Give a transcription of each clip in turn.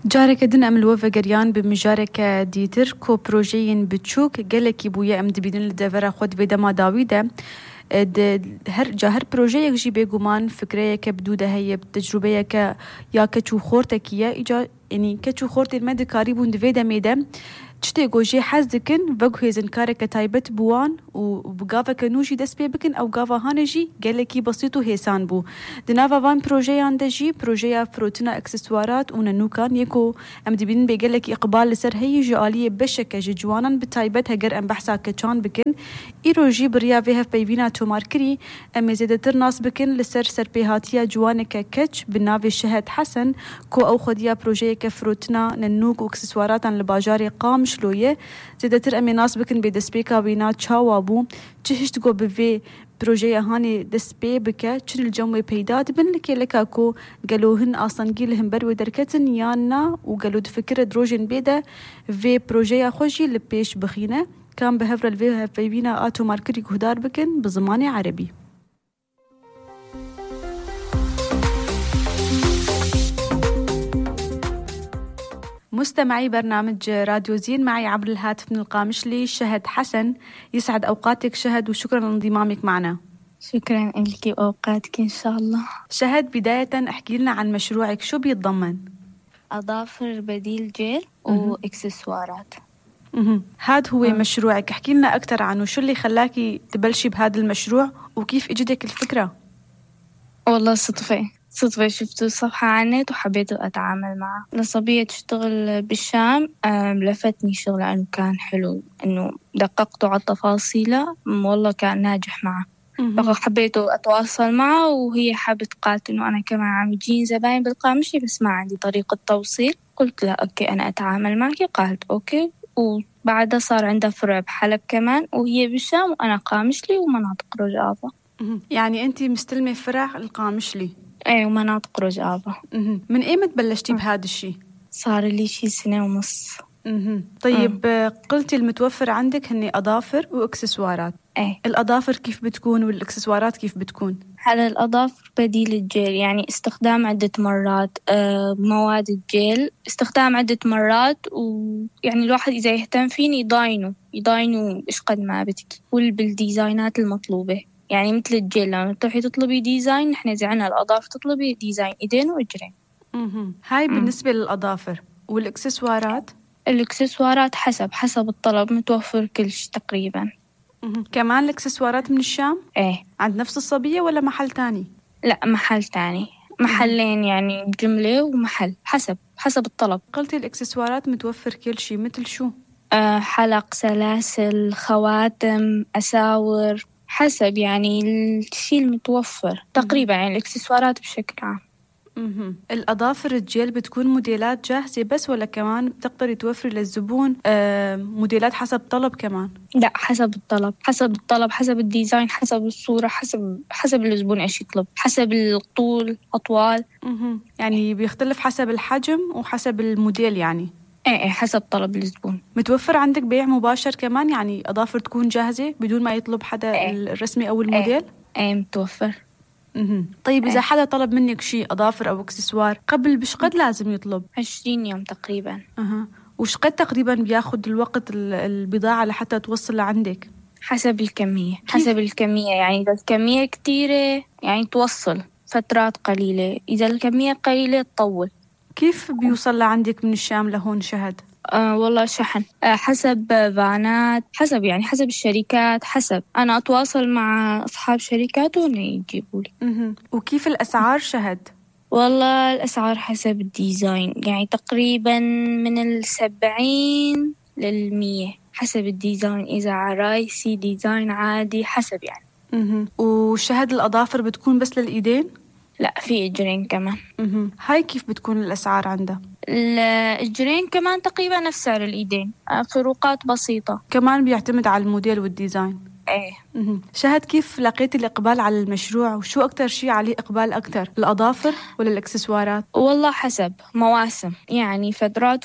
جارك ام الوفا قريان بمجارك ديتر كو بروجين بتشوك قالك بويا ام دبيدن لدفرا خود بيدا ما داويدا هر بروجيك جي بيقومان فكريك بدودة هي بتجربيك يا كتشو خورتك يا إجا يعني كتشو خورتي المادة كاريبون دفيدا ميدا تشتي جوجي حزكن فقه زنكارك تايبت بوان وبقافا كنوشي دس بيبكن أو قافا هانجي قالكي بسيطو هيسان بو دنافا فان بروجي عندجي بروجيا فروتنا اكسسوارات وننوكان يكو ام دبين بيقالك إقبال لسر هي جوالية بشكة جوانا بتايبت هجر ام بحثا كتشان بكن إيروجي بريا فيها بيبينا توماركري ام زيدتر ناس بكن لسر سر بيهاتيا جوانك كتش بالنافي الشهد حسن كو أو خديا بروجي كفروتنا ننوك واكسسوارات عن الباجاري قام شلوية زيدتر امي ناس بكن بدسبيكا بينا تشاوابو تشهشت جو بفي بروجيا هاني دسبي بكا چن الجموي بيداد بن لكي لكاكو قالوهن اصلا قيلهم برو دركتن يانا وقالو دفكر دروجين بيدا في بروجيا خوشي لبيش بخينة كان بهفر الفيها بيبينا آتو ماركري كهدار بكن بزماني عربي. مستمعي برنامج راديو زين معي عبر الهاتف من القامشلي شهد حسن. يسعد أوقاتك شهد وشكرا لانضمامك معنا. شكرا لك وأوقاتك إن شاء الله. شهد بداية احكي لنا عن مشروعك شو بيتضمن؟ أظافر بديل جيل وإكسسوارات. هاد هو مشروعك، احكي لنا أكتر عنه، شو اللي خلاكي تبلشي بهذا المشروع وكيف اجتك الفكرة؟ والله صدفة شفت صفحة على النت وحبيت أتعامل معه. لصبية تشتغل بالشام لفتني شغله أنه كان حلو، أنه دققته على تفاصيله والله كان ناجح معه. فحبيت أتواصل معه وهي حابت قالت أنه أنا كمان عم يجين زباين بالقامشي بس ما عندي طريقة توصيل. قلت لها أوكي أنا أتعامل معك. قالت أوكي. وبعدها صار عندها فرع بحلب كمان وهي بالشام وأنا قامشلي ومناطق رجافة. يعني أنت مستلمة فرع القامشلي؟ ايه ومناطق رجافة. من ايمت بلشتي بهذا الشيء؟ صار لي شي 1.5 سنة. طيب قلتي المتوفر عندك هني أظافر وإكسسوارات. ايه الأظافر كيف بتكون والإكسسوارات كيف بتكون؟ على الأظافر بديل الجيل، يعني استخدام عدة مرات. مواد الجيل استخدام عدة مرات، ويعني الواحد إذا يهتم فيني يضاينه إيش قد ما بدك بالديزاينات المطلوبة. يعني مثل الجيل لما تروحي تطلبي ديزاين نحن إذا عنا الأظافر تطلبي ديزاين إيدين وإجرين. هاي بالنسبة للأظافر. والإكسسوارات؟ الإكسسوارات حسب الطلب متوفر كل شيء تقريبا. كمان الإكسسوارات من الشام؟ إيه. عند نفس الصبية ولا محل تاني؟ لا محل تاني، محلين يعني جملة ومحل حسب الطلب. قلتي الإكسسوارات متوفر كل شيء مثل شو؟ حلق، سلاسل، خواتم، أساور، حسب يعني الشيء المتوفر تقريبا، يعني الإكسسوارات بشكل عام. الأظافر الجيل بتكون موديلات جاهزة بس ولا كمان بتقدري توفري للزبون موديلات حسب طلب كمان؟ لا حسب الطلب حسب الديزاين حسب الصورة حسب الزبون ايش يطلب، حسب الطول أطوال. يعني بيختلف حسب الحجم وحسب الموديل يعني. ايه حسب طلب الزبون. متوفر عندك بيع مباشر كمان، يعني أظافر تكون جاهزة بدون ما يطلب حدا الرسمي أو الموديل؟ ايه متوفر. طيب إذا حدا طلب منك شيء أظافر أو إكسسوار قبل بشقد لازم يطلب؟ 20 يوم تقريبا. وشقد تقريبا بياخد الوقت البضاعة لحتى توصل لعندك؟ حسب الكمية يعني إذا الكمية كتيرة يعني توصل فترات قليلة، إذا الكمية قليلة تطول. كيف بيوصل لعندك من الشام لهون شهد؟ والله شحن حسب فانات، حسب الشركات، حسب أنا أتواصل مع أصحاب شركات وهم يجيبوا لي. وكيف الأسعار شهد؟ والله الأسعار حسب الديزاين، يعني تقريبا من 70 ل100 حسب الديزاين، إذا عرايسي ديزاين عادي حسب يعني. وشهد الأظافر بتكون بس للإيدين؟ لا في إجرين كمان. هاي كيف بتكون الأسعار عندها؟ الإجرين كمان تقريبا نفس سعر الإيدين، فروقات بسيطة. كمان بيعتمد على الموديل والديزاين. ايه. شهد كيف لقيتي الإقبال على المشروع وشو أكتر شيء عليه إقبال أكتر، الأظافر ولا الإكسسوارات؟ والله حسب مواسم، يعني فترات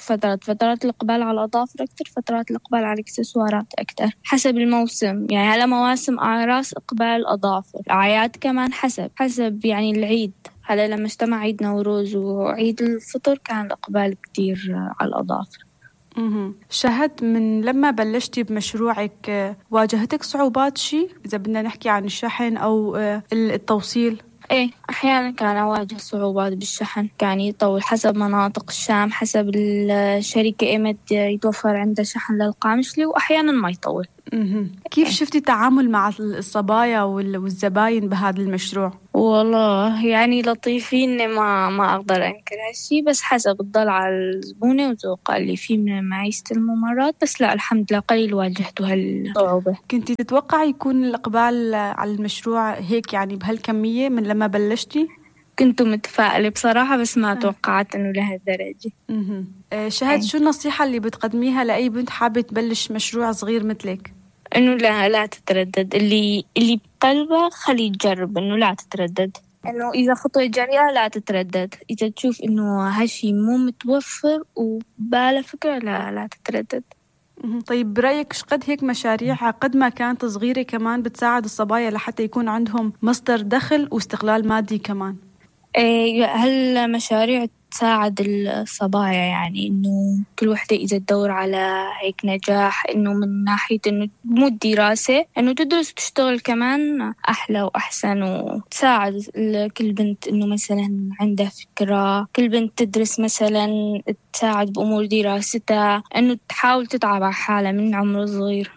الإقبال على الأظافر أكتر، فترات الإقبال على الإكسسوارات أكتر حسب الموسم. يعني على مواسم أعراس إقبال أظافر، أعياد كمان حسب يعني العيد هلا لما اجتمع عيد نوروز وعيد الفطر كان الإقبال كتير على الأظافر. شهد، من لما بلشتي بمشروعك واجهتك صعوبات شي؟ إذا بدنا نحكي عن الشحن أو التوصيل. ايه، احيانا كان اواجه صعوبات بالشحن، كان يطول حسب مناطق الشام، حسب الشركة ايمت يتوفر عندها شحن للقامشلي، واحيانا ما يطول. كيف شفتي التعامل مع الصبايا والزباين بهذا المشروع؟ والله يعني لطيفين، ما اقدر انكر هالشي، بس حسب الضل على الزبونة وذوقها اللي فيه من معيشة الممرات. بس لا، الحمد لله قليل واجهته هالصعوبة. كنتي تتوقعي يكون الإقبال على المشروع هيك يعني بهالكمية من لما بلشتي؟ كنت متفائلة بصراحة، بس ما توقعت انه لهالدرجة. شهد، شو النصيحة اللي بتقدميها لأي بنت حابة تبلش مشروع صغير مثلك؟ انه لا تتردد، اللي بقلبها خلي تجرب، انه لا تتردد، انه اذا خطوة جريئة لا تتردد، اذا تشوف انه هالشي مو متوفر وباله فكرة لا تتردد. طيب برأيك شقد هيك مشاريع قد ما كانت صغيرة كمان بتساعد الصبايا لحتى يكون عندهم مصدر دخل واستقلال مادي كمان؟ هالمشاريع تساعد الصبايا، يعني إنه كل وحدة إذا تدور على هيك نجاح، إنه من ناحية إنه مو الدراسة، إنه تدرس وتشتغل كمان أحلى وأحسن، وتساعد كل بنت إنه مثلا عندها فكرة، كل بنت تدرس مثلا تساعد بأمور دراستها، إنه تحاول تتعب على حالها من عمر صغير.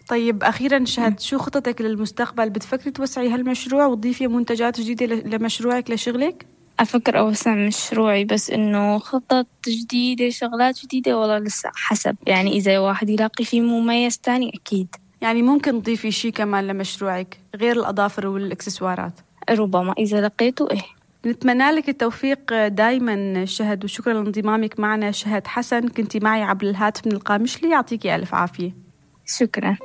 طيب أخيراً شهد، شو خطتك للمستقبل؟ بتفكري توسعي هالمشروع وتضيفي منتجات جديدة لمشروعك لشغلك؟ أفكر أوسع مشروعي، بس إنه خطط جديدة، شغلات جديدة، والله لسه حسب، يعني إذا واحد يلاقي فيه مميز تاني أكيد. يعني ممكن تضيفي شي كمان لمشروعك غير الأظافر والإكسسوارات؟ ربما إذا لقيته. نتمنى لك التوفيق دايما شهد، وشكرا لانضمامك معنا. شهد حسن كنتي معي عبر الهاتف من القامشلي، يعطيكي ألف عافية. شكرا.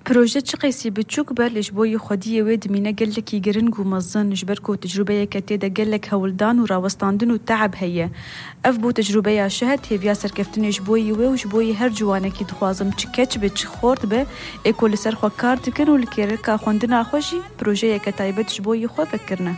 بروجيت شقيسي بتشوكبر لجبوي خدية ويد مينا قلك يقرنقو مظن جبركو تجربية كتيدا قلك هولدان وراوستاندن وتعب هيا أفبو تجربية شهد هي بياسر كفتني جبوي وجبوي هر جوانا كي دخوازم تشكتش بتشخورت به ايكو لسر خوا كارتكن والكيركا خوندنا خوشي بروجية كتايبت جبوي خوا فكرنا.